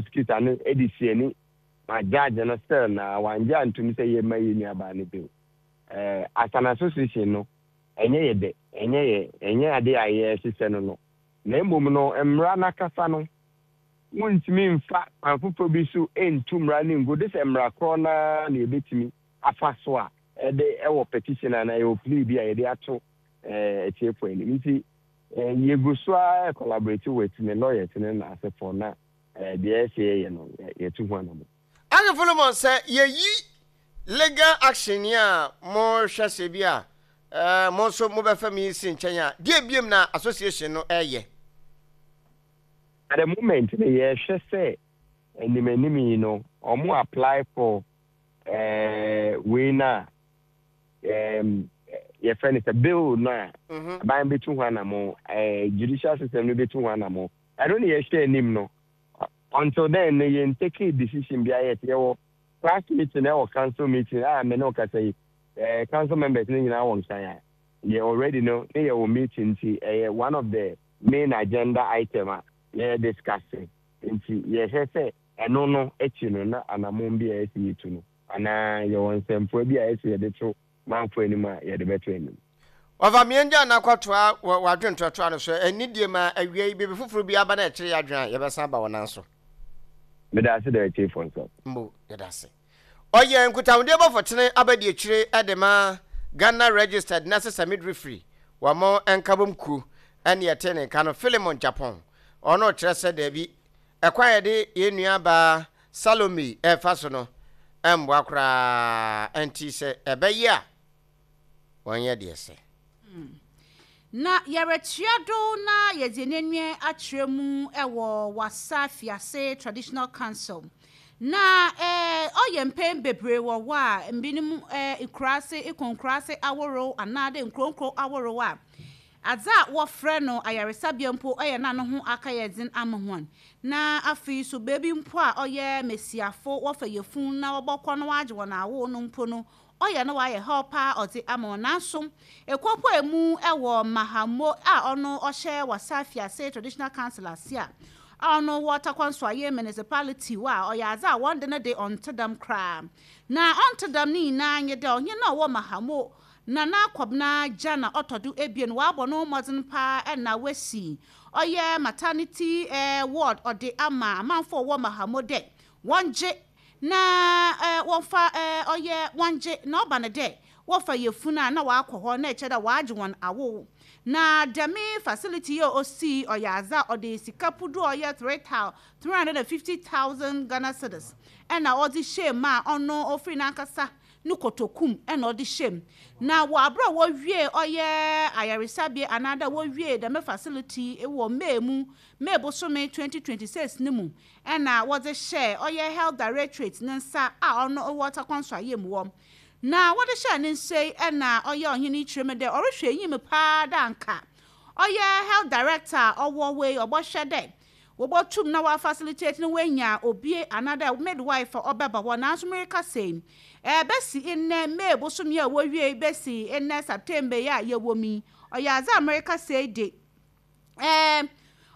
prosecutor no de si ani ma judge no still na wangye antom sɛ yɛmma yɛn nuabaa no bail. Eh, as an association no, ɛnyɛ yɛ dɛ, ɛnyɛ yɛ, ɛnyɛ ade a yɛhyehyɛ no no. Na mmom no, mmara no akasa no, wontumi mfa kwan foforɔ bi so ntu mmara no ngu, de sɛ mmara korɔ no ara na yɛbɛtumi afa so a ɛde ɛwɔ petition anaa ɛwɔ plea bi a yɛde ato eh, atiefoɔ anim. Nti, eh, yɛgu so ara collaborate with ne lawyers ne n'asefoɔ na eh, deɛ ɛsɛ yɛyɛ no, yɛtu ho anamɔ. Ane Philemon, sɛ yɛyi legal action yi a mohwɛ sɛ bi a eh, mo nso mobɛfa mi si nkyɛn a, deɛ biom na association no ɛyɛ? At the moment no, yɛhwɛ sɛ anim anim yi no, wɔn apply for eh, wei no a um, yɛfrɛ no sɛ bill no a aban bɛtu ho anamo, eh, judicial system no bɛtu ho anamo. Ɛno ne yɛhwɛ anim no. Until then no, yɛn take decision biara yet. Yɛwɔ class meeting ɛwɔ council meeting a me ne wo kasa yi, eh, council members no nyinaa wɔ nkan a yɛ already no ne yɛwɔ meeting, nti ɛyɛ one of the main agenda item a yɛ discuss. Nti yɛhwɛ sɛ ɛno no akyi no na anammɔn bi a ɛsɛ yɛtu no anaa yɛwɔ nsɛmfua bi a ɛsɛ yɛde to manfo anim a yɛde bɛto anim. Ɔfa mmiɛngya na akɔtoa wɔ w'adwene toatoa no so. Anidie ma awia yi biribi foforo bi aba na ɛkyere yɛn adwene a, yɛbɛsan aba wo nan so. Meda ase da atiefo nso. Mbo, yɛda ase. Ɔyɛ nkutahodie bɔfo tene abadiakyire de ma Ghana Registered Nurses and Midwifery wɔn nkabom kuo ɛne ɛte ne nka no Philemon Gyapong. Ɔno kyerɛ sɛ daabi, ɛkwan a yɛde yɛn nua baa Salome ɛrefa so no ɛmmoa koraa, ɛnti sɛ ɛbɛyɛ a wɔnyɛ deɛ ɛsɛ. Na yɛretua do na yɛdze hɛn enyiwa akyerɛ mu wɔ Wassa Fiase Traditional Council. Na ɔyɛ mpɛn beberee wɔ hɔ a binom nkuraase, ekɔ nkuraase ahorow anaadɛ nkurow nkurow ahorow a, adze a wɔfrɛ no ayaresabea mpo ɔyɛ na no ho akɛyɛ dzen ama hɔn. Na afei so beebi mpo a ɔyɛ mbasiafo wɔfa yafun na wɔbɔkɔ na wɔagye hɔn awo no mpo no, ɔyɛ na ɔayɛ haw paa ɔdze ama hɔn. Naaso, ekuopuei mu wɔ Mahamo a ɔno ɔhyɛ Wassa Afiase Traditional Council ase a ɔno wɔ Tarkwa Nsuaye Municipality hɔ a, ɔyɛ adze a wɔn de no de ɔnntse dɛm koraa. Na ɔnntse dɛm ne nyina nye dɛ ɔhen a ɔwɔ Mahamo, Nana Kɔbena Gyana ɔtɔ do ebien, ɔabɔ noho mbɔdzen paa na oesi ɔyɛ maternity ward ɔdze ama amamfo a wɔwɔ Mahamo dɛ wɔngye Na wɔfa ɔyɛ wɔngye, na ɔba no dɛ wɔfa yafun a nna wɔakɔ hɔ na kyerɛ dɛ wɔagye hɔn awow. Na dɛm facility yi a osii ɔyɛ adze a ɔde sika pudu a ɔyɛ three thou 350,000 Ghana cedis na ɔdze hyɛɛ mu a ɔno ofir nankasa no kotoku mu na ɔdze hyɛɛ mu. Na wɔ aber a wowiee ɔyɛ ayaresabea anaadɛ wowiee dɛm facility yi wɔ May mu, May bosome 2026 no mu, na wɔdze hyɛɛ ɔyɛ Health Directorate ne nsa a ɔno wɔ Tarkwa Nsuaem wɔ. Na wɔdze hyɛɛ ne nsa yi na ɔyɛ ɔhen yi kyerɛ mu dɛ ɔrohwɛ enyim paa dɛ anka ɔyɛ Health Director a ɔwɔ hɔ yi ɔbɔhwɛ dɛ wobotum na wɔafacilitate na woenya obi anaadɛ midwife a ɔbɛba hɔ. Naaso merekasa yi, besi ndɛ May bosoom yi a wowiei besi ndɛ September yi a yɛwɔ mu yi, ɔyɛ adze a merekasa yi de, Ɛɛ,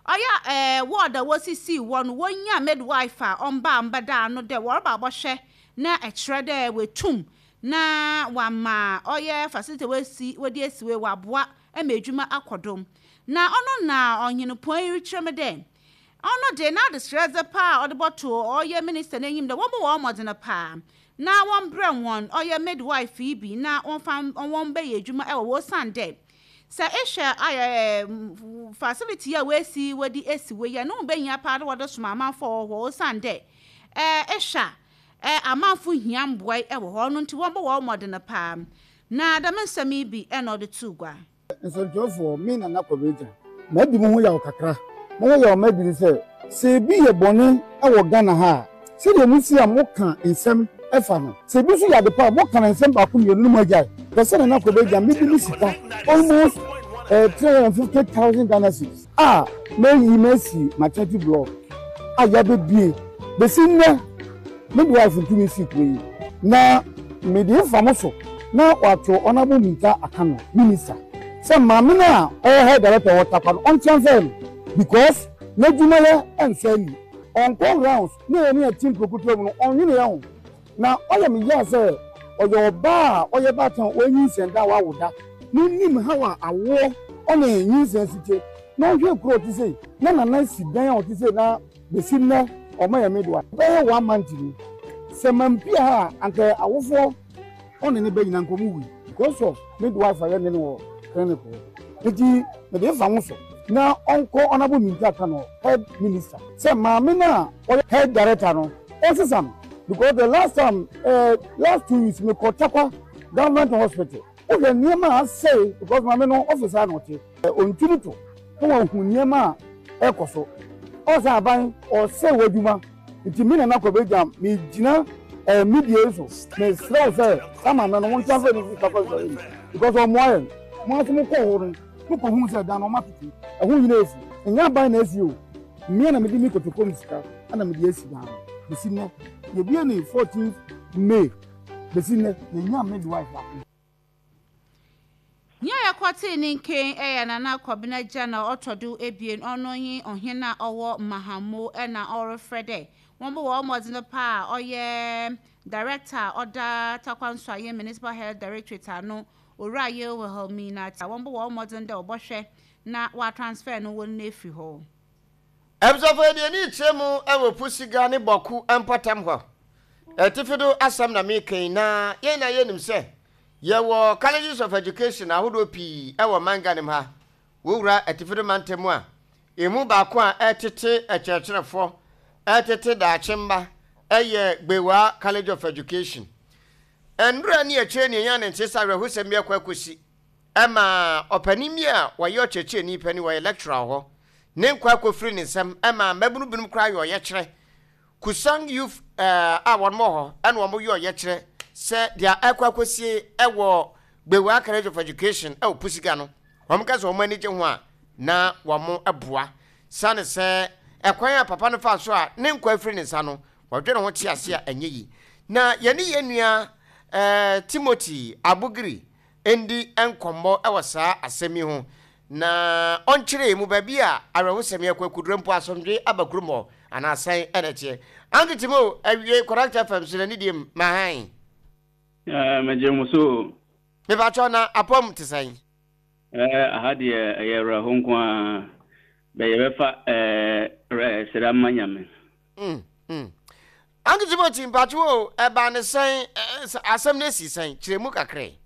ɔyɛ a ɛɛ ward a wosisii hɔ no wonnya midwife a ɔmba mbɛda ano dɛ wɔreba abɔhwɛ na kyerɛ dɛ oetum na ɔama ɔyɛ facility a woesi wɔdze esi hɔ yi ɔaboa ma edwuma akɔ do. Na ɔno na ɔhen pɔn yi rekyerɛ me dɛ ɔno dze n'adzeserɛdze paa a ɔdze bɔto ɔyɛ minister n'enyim dɛ wɔmbɔ hɔn mbɔdzen paa na wɔmbrɛ hɔn ɔyɛ midwife yi bi na wɔmfa hɔn mbɛyɛ edwuma wɔ hɔ osiandɛ Sɛ ehwɛ a facility yi a woesi wɔdze esi hɔ yi a, no ho behia paa dɛ wɔdze soma amamfo a wɔwɔ hɔ osiandɛ ehwɛ a amamfo hia mboa yi wɔ hɔ, ɔno ntsi wɔmbɔ hɔn mbɔdzen paa. Na dɛm nsɛm yi bi na ɔdze too gua. Nsɛntwerɛfoɔ, me Nana Kwabena Gyan, madi mo ho yaw kakra. Mo ho yaw madi ne sɛ, sɛ ebi yɛ bɔne wɔ Ghana ha a, Sɛdeɛ mosi a moka nsɛm fa no, sɛ ebi nso yɛ ade pa a, moka no nsɛm baako mmienu no moagyae. Pɛ sɛ Nana Kobegya mede me sika almost eh, 350,000 Ghana cedis a mayi masi maternity block a yɛabɛbie bɛsi nnɛ midwife ntumi nsii kuro yi na mede fa mo so na wato Honourable Minta Akano minister sɛ maame no a ɔyɛ health director wɔ Tarkwa no ɔntransfer no because n'adwumayɛ nsɔ ani. Ɔnkɔ rounds na yɛne yɛte nkuro ketewa mu no, ɔnnwene yɛn ho. Na ɔyɛ me ya sɛ ɔyɛ ɔbaa a ɔyɛ baatan a wanyinsɛn da a wawo da na ɔnim haw a awoɔ ɔne nyinsɛn si te na ɔhwɛ kuro a ɔte sei na nana si dan a ɔte sei na bɛsi nnɛ ɔma yɛ midwife bɛyɛ one month ni sɛ mampia ha a anka awofoɔ ɔne ne ba nyina nka ɔmo wui because of midwife a yɛne no wɔ clinic hɔ nti mede fa ho so na ɔnkɔ Honourable Minta Kano head minister sɛ maame no a ɔyɛ head director no ɔnsesa no because the last time eh, last 2 weeks mekɔ Tarkwa government hospital, wohwɛ nneɛma a asɛe because maame no office a na ɔte ɔntumi to na wahu nneɛma a ɛkɔ so. Ɔsɛ aban ɔsɛ w'adwuma nti me Nana Kwabena megyina media yi so mesrɛ wo sɛ saa maame no wɔn transfer ne fi Tarkwa nsɔre mu because ɔmmoa yɛn. Mo nso mokɔɔ hɔ no, mokɔhuu sɛ dan no ɔma tete ɛho nyina efu. Ɛnyɛ aban na asi o, mmea na mede me kotoko mu sika ɛna mede asi dan no. Bɛsi nnɛ yɛbue ne 14 May, bɛsi nnɛ yɛnya midwife baako. Nyia yɛkɔtsee ne nken yɛ Nana Kɔbena Gyana ɔtɔ do ebien, ɔno nye ɔhen a ɔwɔ Mahammo na ɔrefrɛ dɛ wɔmbɔ hɔn mbɔdzen paa a ɔyɛ Director a ɔda Tarkwa Nsuaem Municipal Health Directorate ano, Owura Yeo Wilhelmina a wɔmbɔ hɔn mbɔdzen dɛ wɔbɔhwɛ na wɔatransfer no hɔn efir hɔ. Abusuafo, yɛde ani rekyerɛ mu wɔ Pusiga ne Bawku mpɔtam hɔ. Atifi do asɛm na mereka yi, na yɛn nyinaa yɛnim sɛ yɛwɔ Colleges of Education ahodoɔ pii wɔ ɔman Ghana mu ha. Wowura Atifi do mantam mu a, emu baako a ɛretete akyerɛkyerɛfoɔ, ɛretete daakye mma yɛ Gbewaa College of Education. Nnora ne akyire nea ɛnya ne nte sɛ awerɛhosɛm bi akɔ akɔsi ɛma ɔpanin bi a ɔyɛ ɔkyerɛkyerɛni panin, ɔyɛ lecturer wɔ hɔ, ne nkwa akɔfiri ne nsam ɛma mmabunu binom koraa yɛ ɔyɛkyerɛ. Kusang Youth a wɔn wɔ hɔ ɛna wɔn yɛ ɔyɛkyerɛ sɛ deɛ ɛkɔ akɔsie ɛwɔ Gbewaa College of Education ɛwɔ Pusiga no, wɔn ka sɛ wɔn ani gye ho a na wɔn boa. Sane sɛ ɛkwan a papa no faa so a ne nkwa afiri ne nsa no, wɔdwene ho te ase a ɛnyɛ yi. Na yɛne yɛn nua eh, Timothy Abugiri ndi nkɔmmɔ wɔ saa asɛm yi ho, na ɔnkyerɛ mu baabi a awerɛhosɛm yi akɔ akudura mpo asomdwe aba kurom hɔ anaa sɛn ɛna ɛteɛ. Uncle Timo, awie Correct FM so na ne diem ma hann. Eh, megye mo so o. Mepakyɛw na apɔm te sɛn? Eh, aha deɛ ɛyɛ awerɛho nko ara. Bɛ yɛbɛfa eh, eh, sera ma Nyame. Mm, mm. Uncle Timothy, mpakyɛw o, ɛbaa ne sɛn, asɛm no esi sɛn? Kyerɛ mu kakra yi.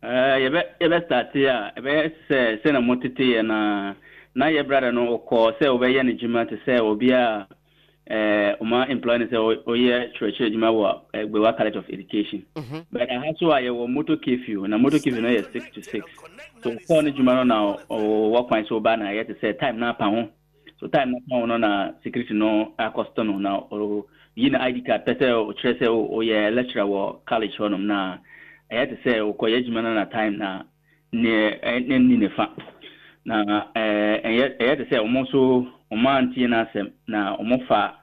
Eh, yɛbɛ yɛbɛ starte a, ɛbɛyɛ sɛ sɛnea mo tete yɛ no ara. Na yɛ brother no ɔkɔɔ sɛ ɔbɛyɛ ne dwuma te sɛ obi a eh, ɔma employ no sɛ ɔyɛ kyerɛkyerɛ adwuma wɔ eh, Gbewa College of Education. But aha so a yɛwɔ motor curfew, na motor curfew no yɛ 6 to 6. So ɔkɔɔ ne dwuma no na ɔwɔ kwan sɛ ɔba na ɛyɛ te sɛ time no apa ho. So time no apa ho no na security no akɔsto no na ɔyi na ID card pɛ sɛ ɔkyerɛ sɛ ɔyɛ lecturer wɔ college hɔnom, na ɛyɛ te sɛ ɔkɔyɛ adwuma no na time na ne ɛnni ne fa na ɛyɛ te sɛ ɔmo nso ɔmo antie n'asɛm na ɔmo fa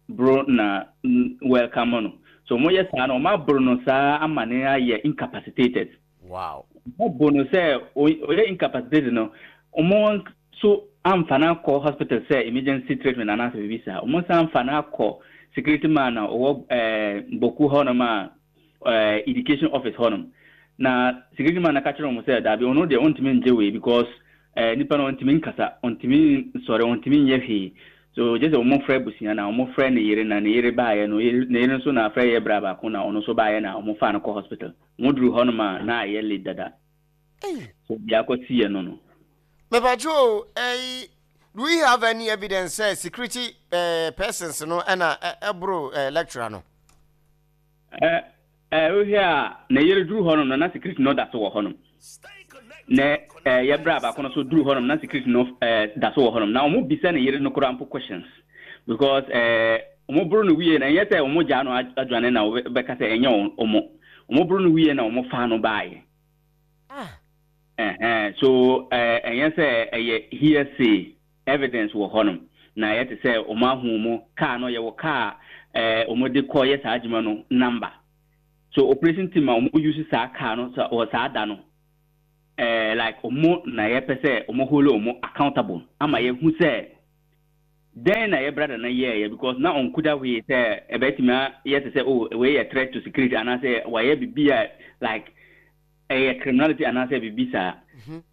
boro na welcome no. So ɔmo yɛ saa na ɔmo aboro no saa ama ne ayɛ incapacitated. Ɔmo bo no sɛ ɔyɛ incapacitated no, ɔmo nso amfa no akɔ hospital sɛ emergency treatment anaasɛ biribi saa. Ɔmo nso amfa no akɔ security man a ɔwɔ Bawku hɔnom a education office hɔnom, na security man na ka kyerɛ wɔn sɛ daabi, ɔno deɛ ɔntumi ngye wei because nipa no ɔntumi nkasa, ɔntumi nsɔre, ɔntumi nyɛ hwee. So gye sɛ wɔn frɛ abusua na wɔn frɛ ne yere, na ne yere baayɛ no, ne yere nso na afrɛ yɛ bra baako na ɔno nso baayɛ na wɔn fa no kɔ hospital. Wɔn duru hɔnom a na ayɛ late dada. So biako si yɛ no. Mepakyɛw o, ɛyi, do we have any evidence sɛ security persons no ɛna ɛboro lecturer no? Ɛ ɛ wohwɛ a ne yere duru hɔnom no na security no da so wɔ hɔnom. Na ɛ yɛ bra baako no so duru hɔnom na security no da so wɔ hɔnom, na wɔn bisa ne yere no koraa mpo questions because wɔn boro no wie na ɛnyɛ sɛ wɔn gyaa no adwane na wɔbɛka sɛ ɛnyɛ wɔn boro no wie na wɔn fa no baayɛ. Ɛhɛn, so ɛnyɛ sɛ ɛyɛ hearsay, evidence wɔ hɔnom na ɛyɛ te sɛ wɔn ahu mu car no, yɛwɔ car wɔn de kɔ yɛ saa adwuma no number. So operation team a wɔn use saa car no wɔ saa da no, like wɔn na yɛpɛ sɛ wɔn hold wɔn accountable ama yɛhu sɛ. Dɛn na yɛ brother no yɛɛyɛ because na ɔnkuta hwee sɛ ɛbɛtumi ayɛ te sɛ oh wei yɛ threat to security anaasɛ wayɛ biribi a like ɛyɛ criminality anaasɛ biribi saa.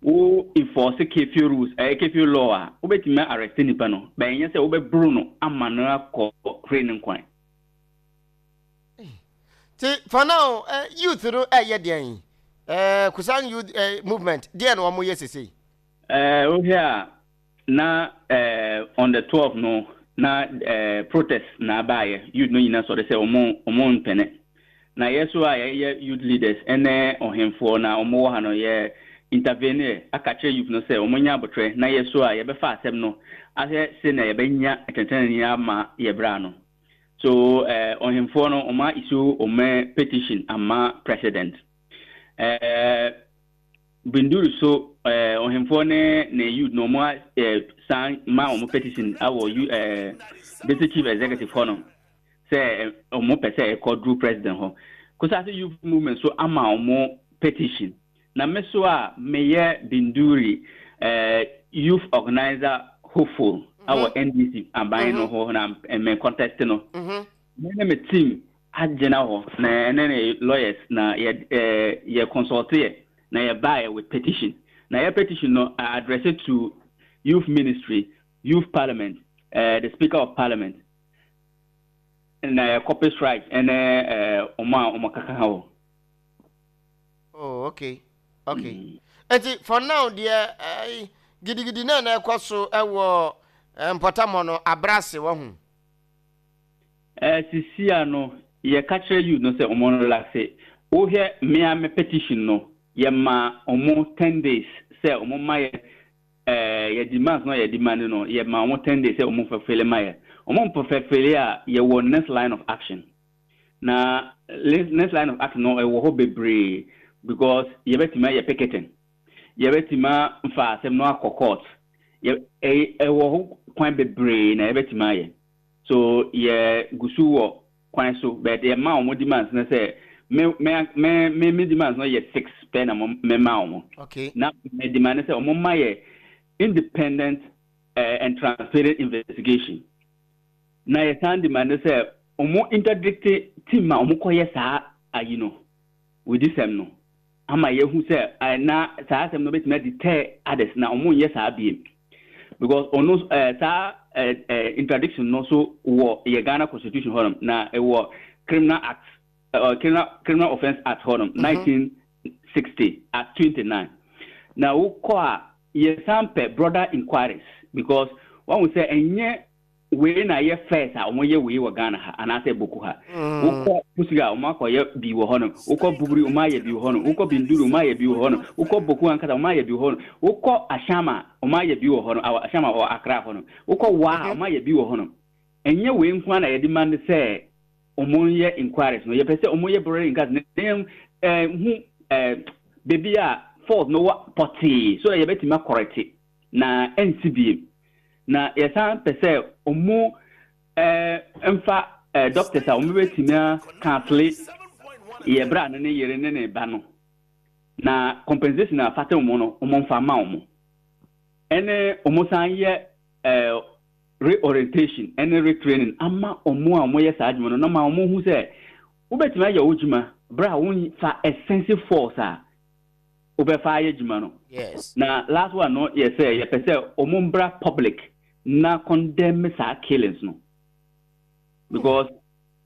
Wo enforce curfew rules ɛyɛ curfew law a wobɛtumi arrest nipa no but ɛnyɛ sɛ wobɛboro no ama no akɔ hwere ne nkwa. Ti for now eh, youth no ɛyɛ deɛn? Eh, Kusan youth eh, movement deɛn na wɔn yɛ sesei? Eh, wohwɛ a Na eh, on the 12 no, na eh, protest na abaayɛ, youth no nyina sɔre sɛ ɔmo ɔmo mpene. Na yɛ so a yɛyɛ youth leaders ɛne ɔhemfoɔ na ɔmo wɔ ha no, yɛ intervene aka kyerɛ youth no sɛ ɔmo nya abotrɛ na yɛ so a yɛbɛfa asɛm no ahwɛ sɛnea yɛbɛnya atɛntɛnenee ama yɛ bra no. So eh, ɔhemfoɔ no ɔmo a issue ɔmo petition ama president. Eh, Binduri so eh, ɔhemfoɔ ne ne youth no wɔn eh, san ma wɔn petition awɔ U eh, district chief executive hɔ no sɛ eh, wɔn pɛ sɛ ɛkɔ duru president hɔ. Kusase youth movement so ama wɔn petition. Na me so a meyɛ Binduri eh, youth organizer hopeful awɔ NDC aban no hɔ na me contest no. Me ne me team agyina hɔ na ɛne ne lawyers na yɛ eh, yɛ consult yɛ na yɛ baeɛ with petition na yɛ petition no I address it to youth ministry, youth parliament, eh, the speaker of parliament na yɛ copy strike ɛne eh, ɔmo a ɔmo kaka hɔ. Oh, okay. Okay. Enti for now deɛ eh, gidigidi na na ɛkɔ so ɛwɔ eh, mpɔtam hɔ no abrase wɔ ho. Eh sisia no yɛ ka kyerɛ youth no sɛ ɔmo relaxe. Wo hwɛ me ara me petition no yɛ ma ɔmo ten days sɛ ɔmo ma yɛ eh yɛ demands no a yɛ demande no yɛ ma ɔmo ten days sɛ ɔmo fulfille ma yɛ. Ɔmo nfulfille a yɛ wɔ next line of action. Na next line of action no ɛwɔ hɔ bebree because yɛ bɛtumi ayɛ picketing, yɛ bɛtumi afa asɛm no akɔ court, yɛ ɛwɔ hɔ kwan bebree na yɛ bɛtumi ayɛ. So yɛ gusu wɔ kwan so but yɛ ma wɔn demands no sɛ me me me me me demands no yɛ six pɛ na mo me ma wɔn. Okay. Na me demand sɛ wɔn ma yɛ independent uh, and transparent investigation. Na yɛ san demand sɛ wɔn interdict team a wɔn kɔ yɛ saa ayi no wodisɛm no. ama yɛahu sɛ na saa asɛm no bɛtumi adeter others na wɔn nyɛ saa biem because ɔno ɛɛ saa ɛɛ ɛɛ interdiction no so wɔ yɛ Ghana constitution hɔnom na ɛwɔ criminal act ɛɛ criminal criminal offence act hɔnom 1960 act 29 na wokɔ a yɛsan pɛ broader inquiries because wɔn sɛ ɛnyɛ Wei na ɛyɛ first a wɔyɛ wei wɔ Ghana ha anaasɛ Boko ha. Wokɔ Pusiga a wɔn akɔyɛ bi wɔ hɔ nom. Wokɔ Bugri wɔn ayɛ bi wɔ hɔ nom. Wokɔ Binduri wɔn ayɛ bi wɔ hɔ nom. Wokɔ Boko ankasa wɔn ayɛ bi wɔ hɔ nom. Wokɔ Ashama wɔn ayɛ bi wɔ hɔ nom. Ashama wɔ Accra hɔ nom. Wokɔ Wa wɔn ayɛ bi wɔ hɔ nom. Ɛnyɛ wei nko ara na yɛde ma no sɛ wɔn yɛ inquiries no. Yɛpɛ sɛ wɔn yɛ broader inquiries na yɛn hu baabi a fault no wɔ pɔtee so that yɛbɛtumi akɔrɛte na ɛnsi biem. Na yɛsan pɛ sɛ ɔmo mfa doctors a ɔmo bɛtumi a counsele yɛ bra no ne yere ne ne ba no na compensation a fata ɔmo no ɔmo mfa ma ɔmo. Ɛne ɔmo san yɛ reorientation ɛne retraining ama ɔmo a ɔmo yɛ saa adwuma no na ma ɔmo hu sɛ wobɛtumi ayɛ wo dwuma berɛ a wonfa excessive force a wobɛfa ayɛ adwuma no. Yes. Na last one no yɛ sɛ yɛpɛ sɛ wɔn mbra public na condemn saa killings no because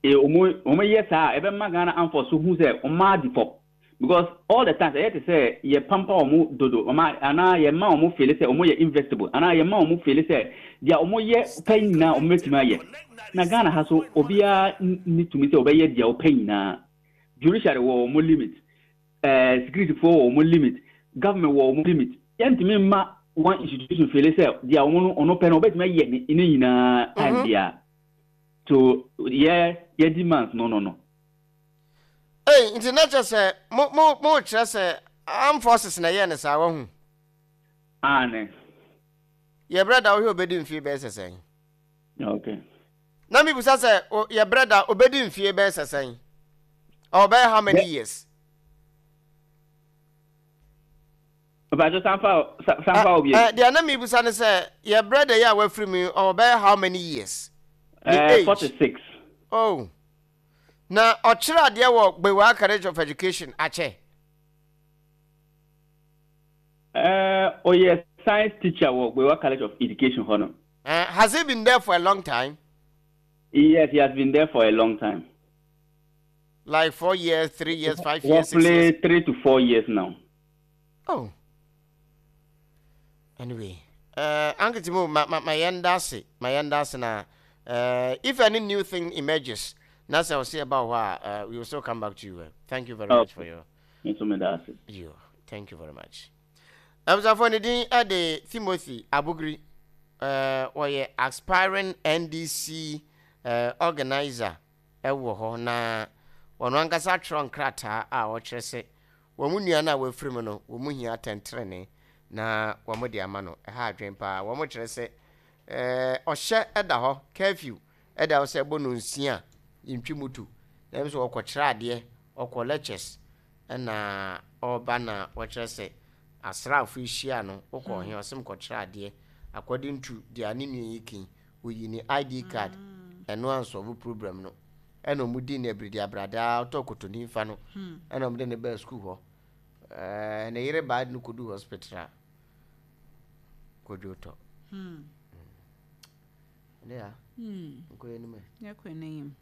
wɔn wɔn yɛ saa a ɛbɛma Ghana armed force so hu sɛ wɔn adi fɔ because all the times ɛyɛ te sɛ yɛ pampa wɔn dodo wɔn anaa yɛ ma wɔn feel sɛ wɔn yɛ investible anaa yɛ ma wɔn feel sɛ deɛ wɔn yɛ pɛ nyinaa wɔn bɛtumi ayɛ na Ghana ha so obiara ni tumi sɛ ɔbɛyɛ deɛ ɔpɛ nyinaa judiciary wɔ wɔn limit. Eh, security foɔ wɔ wɔn limit, government wɔ wɔn limit. Yɛntumi mma one institution fele sɛ deɛ wɔn no ɔno pɛ no ɔbɛtumi ayɛ ne ne nyinaa time mhm. biara. So yɛ yɛ demands no no no. Ei, nti na kyerɛ sɛ mo mo mo kyerɛ sɛ armed forces na ɛyɛ ne saa wahu. Aane. Yɛ brɛ da wohwɛ obedi mfie bɛyɛ sɛ sɛn? Okay. Na mibisa sɛ, o, yɛ brɛ da, obedi mfie bɛyɛ sɛ sɛn? Ɔbɛyɛ how many years? Mpakyɛ san fa san fa wo bio. Eh, deɛ na mebisa ne sɛ, yɛ brɛda yi a wafiri mu yi, ɔwɔ bɛyɛ how many years? Ne Eh, age? 46. Oh. Na ɔkyerɛ adeɛ wɔ Gbewaa College of Education akyɛ? Eh, ɔyɛ science teacher wɔ Gbewaa College of Education hɔ no. Eh, has he been there for a long time? Yes, he has been there for a long time. Like 4 years, 3 years, 5 years, 6 years? Roughly 3 to 4 years now. Oh. Anyway, Uncle Timo, ma ma ma yɛn da ase, ma yɛn da ase na if any new thing emerges, na sɛ ɔsi ɛba wɔ hɔ a, we will still come back to you. Thank you very much for your. Nso me da ase. You, thank you very much. Abusuafo ne din de Timothy Abugri. Wɔyɛ aspiring NDC organizer wɔ hɔ na wɔn ankasa atwerɛ nkrataa a ɔkyerɛ sɛ wɔn nua no a wafiri mu no, wɔn hia atɛntrenee na wɔde ama no. Ɛha adwene paa. Wɔkyerɛ sɛ ɔhyɛ da hɔ, curfew da hɔ sɛ ɛbɔ nonsia a yɛntwi moto. Na ɛm sɛ ɔkɔkyerɛ adeɛ, ɔkɔ lectures ɛna ɔreba na wɔkyerɛ sɛ asraafo yi hyia no, wokɔ he? Ɔse mekɔkyerɛ adeɛ. According to deɛ ne nua yi ke, oyi ne ID card, ɛno ansɔlve problem no. Ɛna ɔmo dii no abiridi abradaa, ɔtɔɔ kotoni fa no, ɛna ɔmo de no baa sukuu hɔ. Ɛɛ ne yere baa de no kɔduu hospital a, kodwo tɔ. Ɛnɛ ya, nkɔ yɛn anim ɛ. Yɛkɔ yɛn anim.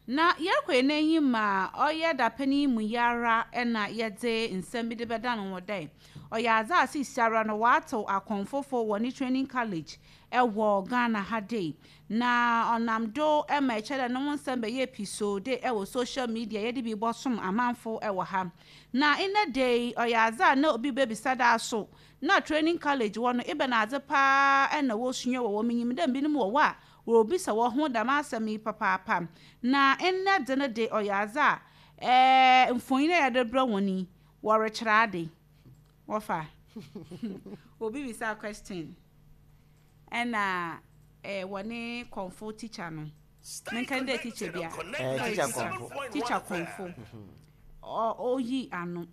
Na yɛkɔ yɛn enyim a, ɔyɛ dapɛn yi mu yi ara na yɛdze nsɛm bi de bɛdan hɔn dɛ, ɔyɛ adze a seseiara no wɔatsew akɔmfofo wɔ ne training college wɔ Ghana ha dei. Na ɔnam do ma ɛkyerɛ dɛ no ho nsɛm bɛyɛɛ pisoo dei wɔ social media, yɛdze bi bɔsom amamfo wɔ ha. Na ndɛ da yi, ɔyɛ adze a na obi bebisa dɛ aso na training college hɔ no ebɛnadze paa na wosua wɔ hɔ? Minyim dɛ binom wɔ hɔ a Woribisa hɔn ho dɛm asɛm yi papaapa. Na ndɛ dze no de, ɔyɛ adze a ɛɛ mfonyin a yɛdze rebrɛ hɔn yi, wɔrekyerɛ ade. Wɔfa. Obi bisaa question ɛna ɛɛ wɔne kɔmfo teacher no. Menka no dɛ teacher bi a. Ɛɛ teacher kɔmfo. Teacher kɔmfo. Ɔ oyi ano.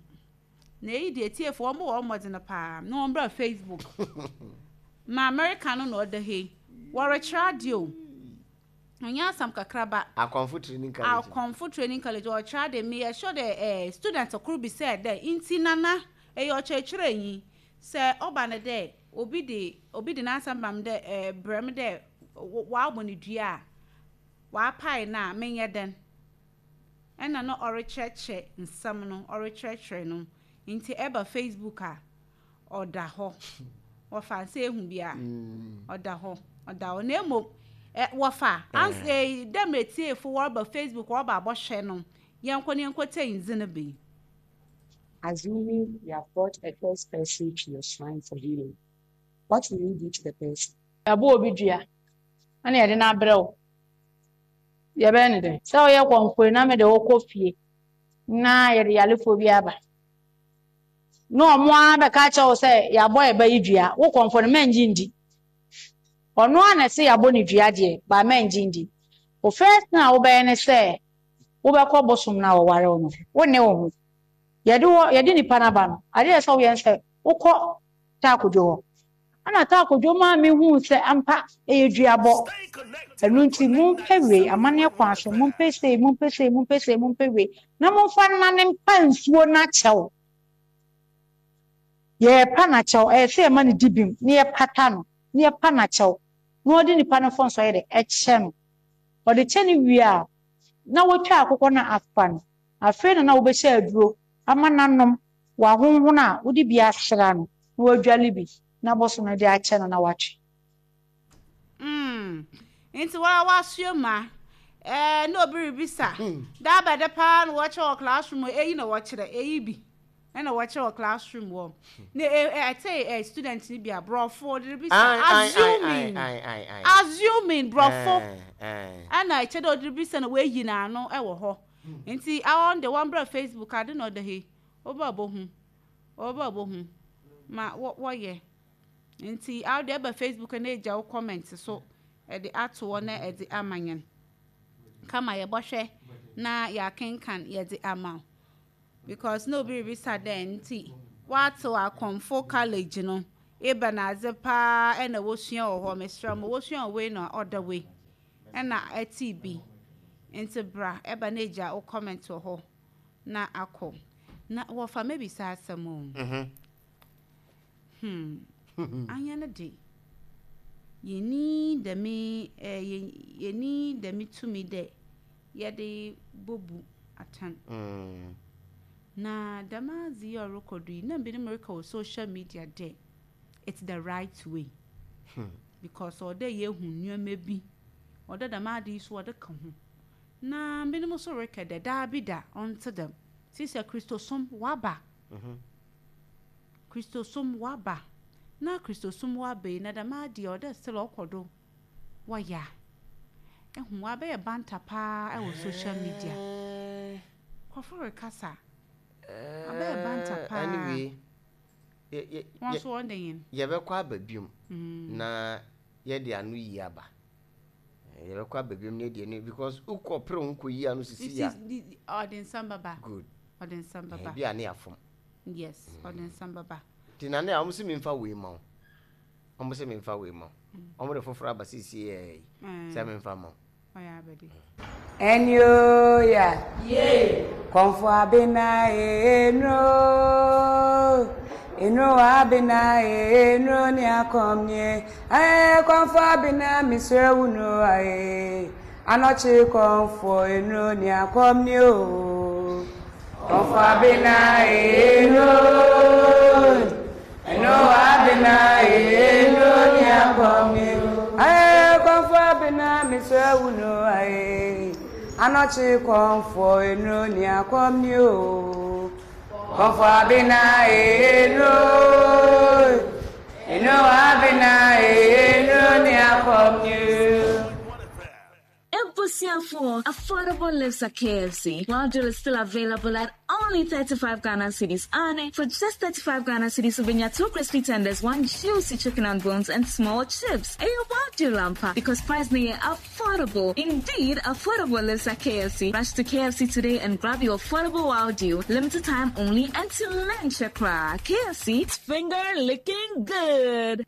Na eyi deɛ atiefo wɔn bɔ wɔn mmɔden paa na wɔn bra Facebook. Ma America no na ɔda ha yi. Wɔrekyerɛ adeɛ o. Ɔnyɛ asɛm kakraba. Akɔmfo Training College. Akɔmfo Training College wɔrekyerɛ adeɛ. Meyɛ sure dɛ eh, student koro bi sɛ dɛ nti nana ɛyɛ ɔkyerɛkyerɛnyi sɛ ɔba no dɛ obi de obi de n'asɛm ba me dɛ eh, brɛ me dɛ wɔabɔ no dua a wɔapae no a menyɛ dɛn? Ɛna na ɔrekyerɛkyerɛ nsɛm no, ɔrekyerɛkyerɛ no. Nti ɛba Facebook a, ɔda hɔ. Wɔfa sɛ ehu bi a, ɔda hɔ, ɔda hɔ. Na mmom, ɛ wɔfa ans ɛ dɛ mmerɛ tiefo wɔreba Facebook wɔreba abɔhwɛ no, yɛnkɔ na yɛnkɔtie ndze no bi. Assuming you have brought a cursed person to your shrine for healing, what will you do to the person? Yɛabɔ obi dua na yɛde no abrɛ wo. Yɛbɛyɛ no dɛn? Sɛ woyɛ kɔmfoe na mede wo kɔ fie na yɛde yarefoɔ bi aba na ɔmo ara bɛka akyerɛ wo sɛ yɛabɔ yɛ ba yi dua, wo kɔmfo no mɛngye ndi. Ɔno ara na ɛse yɛabɔ no dua deɛ, but mɛngye ndi. Wo first thing a wobɛyɛ ne sɛ wobɛkɔ bosom no a wɔware wo no ho. Wo nne wo ho. Yɛde wɔ yɛde nipa no aba no, adeɛ a ɛsɛ sɛ woyɛ ne sɛ wokɔ Taakodwo hɔ. Ɛnna Taakodwo maa mihuu sɛ ampa ɛyɛ duabɔ. Ɛno nti, mompɛ wei, amanneɛ kwan so, mompɛ sei, mompɛ sei, mompɛ sei, mompɛ wei, na momfa nnane mpa nsuo no akyɛw. Yɛrepa no akyɛw, ɛyɛ sɛ yɛma no di bem, na yɛpata no, na yɛpa no akyɛw, na ɔde nipa no mfomsoɔ yɛ dɛ, ɛkyɛ no. Ɔde kyɛ no wie a, na watwa akokɔ no afa no. Afei na na wobɛhyɛ aduro ama no anom, wahonhono a, wode bi asra no, na wadwale bi, na bosom no de akyɛ no na watwe. Mm, nti woara w'asoɛ mu a, eh, na obi rebisa, da bɛde paa na wɔkyerɛ wɔ classroom hɔ, eyi na wɔkyerɛ, eyi bi na wɔkyerɛ wɔ classroom hɔ. Na e, e, ɛte eh, student no bi a, borɔfo, ɔde rebisa, Ae, ae, ae, assuming, ae, ae, ae. assuming, borɔfo, Ae, ae. ɛna ɛkyɛ dɛ ɔde rebisa na wayi n'ano wɔ hɔ. Nti, awɔ de wɔmbrɛ Facebook ade na ɔda ha yi, woba bohu, woba bohu ma wɔ, wɔyɛ. Nti awo deɛ ɛba Facebook na egya wo comment so ɛde ato hɔ na ɛde ama yɛn. Kama yɛbɔhwɛ na yɛakenkan yɛde ama wo. Because na obi rebisa dɛn nti. Wɔatsew Akɔmfo College no, ebɛnadze paa na wosua wɔ hɔ? Meserɛ mo, wosua wɔ wei na ɔda wei na ɛtee bi. Ntsi bra ɛba na egya wo comment wɔ hɔ na akɔ. Na wɔfa mebisa asɛm o. Hmm, anyɛ no de, yɛnni dɛm eh, yɛnni dɛm tumi dɛ yɛde bobu atɛn. Na dɛm adze yi a ɔrokɔ do yi, nna binom reka wɔ social media dɛ it's the right way because ɔwɔ dɛ yehu nneɛma bi, ɔwɔ dɛ dɛm ade yi so wɔde ka ho. Na binom so reka dɛ daabida, ɔnntse dɛm. Sesei Kristosom wɔaba. Kristosom wɔaba. Na Kristosom wɔaba yi, na dɛm ade yi ɔwɔ dɛ still ɔkɔ do wɔyɛ a. Ehu, wɔabɛyɛ banter paa wɔ social media. Nkurɔfo rekasa. Abɛyɛ banter paa. Anyway, Wɔn nso wɔn de yɛn. Yɛbɛkɔ aba biom na yɛde ano yi aba. Yɛbɛkɔ aba biom na yɛde ano because wokɔ pere ho kɔ yi ano sisi ya. Ɔde nsɛm bɛba. Good. Ɔde nsɛm bɛba. Ebi a ne afom. Yes, ɔde nsɛm bɛba. Ti na ne a wɔn sɛ memfa wei ma wo. Wɔn sɛ memfa wei ma wo. Wɔn de foforɔ aba sisi yɛ yi sɛ memfa ma wo. Enioya, Kɔmfo Abena Enro, Enro Abena Enro ni akɔm nie, eh Kɔmfo Abena mesrɛ wo no ae, Anɔkye Kɔmfo Enro ni akɔm nie o, Kɔmfo Abena Enro, Eno abena ee no ni akɔm ni ee kɔnfo abena mesrɛ wo no ee anɔkye kɔnfo eno ni akɔm ni o kɔnfo abena ee no eno abena ee no ni akɔm ni o. Ebusuafoɔ, affordable lives at KFC. Wild Deal is still available at only 35 Ghana cedis. And for just 35 Ghana cedis, wobɛnya two crispy tenders, one juicy chicken and bones, and small chips. Ɛyɛ Wild Deal ampa because price no yɛ affordable. Indeed, affordable lives at KFC. Rush to KFC today and grab your affordable Wild Deal. Limited time only and to lunch KFC, it's finger licking good.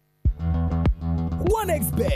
1xBet.